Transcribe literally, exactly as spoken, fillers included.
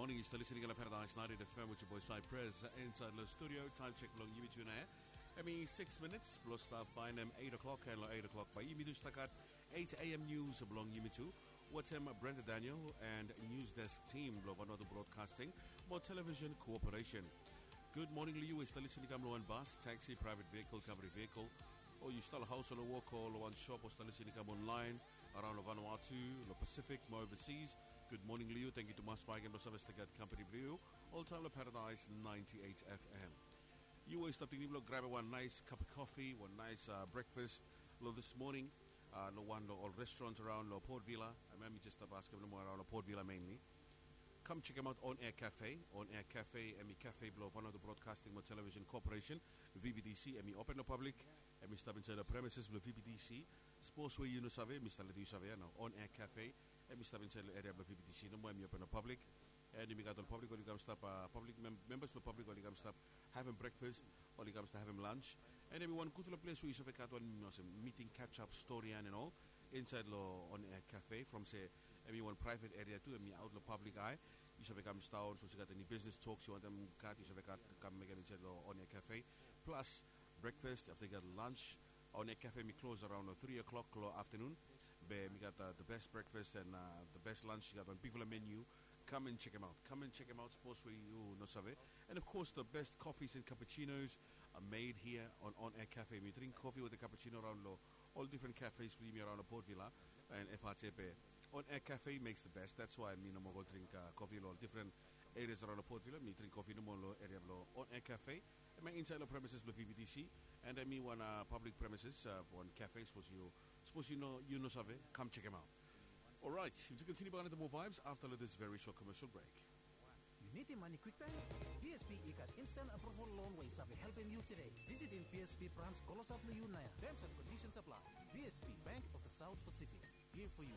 Morning, yu stap listening long Paradise ninety-eight F M with your boy Cypress, uh, inside the studio. Time check blong yumi tu nao. Hemi six minutes blong stap bae hem eight o'clock, and long eight o'clock bae yumi tu stap gat eight A M news blong yumi tu wetem Brenda Daniel and news desk team blong Vanuatu Broadcasting mo Television Corporation. Good morning long yu we yu stap listening i kam long wan bus, taxi, private vehicle, company vehicle, o yu stap long haos o long wok o long wan shop o stap listening i kam online around long Vanuatu, long Pacific mo overseas. Good morning long yu. Tangkiu tumas bakegen blong save stap gat company blong yu oltaem long Paradise ninety-eight F M. Yu we yu stap tingting blong grabem wan nice cup of coffee, wan nice, uh, breakfast long this morning, uh, long wan long ol restaurant around long Port Vila. Hemia mi jes stap askem nomo around long Port Vila mainly. Kam chekem aot On Air Cafe. On Air Cafe hemi cafe blong Vanuatu Broadcasting mo Television Corporation, V B T C. Hemi open long public. Hemi stap insaed long premises blong V B T C. Sapos we yu no save, mi stap letem yu save ia nao. On Air Cafe hemi stap insaed long eria blong V B T C nomo, hemi open long public. And yumi gat ol public oli kam stap, uh, public mem-, members blong public oli kam stap havem breakfast, oli kam stap havem lunch. And hemi wan gudfala ples we yu save gat wan olsem meeting, catch up, stori and all insaed long On Air Cafe. From se hemi wan private area tu, hemi aot long public eye. Yu save kam sidaon, sapos yu gat eni business talks yu wantem gat, yu save gat kam mekem insaed long On Air Cafe. Plus breakfast, afta yu gat lunch. On Air Cafe hemi close around long three o'clock long afternoon. Be hemi gat, uh, the best breakfast and, uh, the best lunch. Yu gat wan bigfala menu. Kam and chekem aot. Kam and chekem aot, sapos we yu no save. And of course, the best coffees and cappuccinos are made here on On Air Cafe. Hemi dring kofi wetem cappuccino around long ol difren cafes blong yumi around long Port Vila and F R T F. On Air Cafe makes the best. That's why mi no moa go dring, uh, kofi long ol difren areas around long Port Vila. Mi dring kofi nomo long eria blong On Air Cafe. Hemia insaed long premises blong V B T C. And hemi wan, uh, public premises, uh, wan cafe, sapos yu, sapos yu no, yu no save, kam chekem aot. Alright, yumi tu kontiniu bakegen wetem moa vibes afta long this very short commercial break. Yu nidim mane kwiktaem? B S P i gat instant approval loan we i save helpem yu tede. Visitim B S P brans klosap long yu naoia. Terms and conditions apply. B S P, Bank of the South Pacific. Here for you.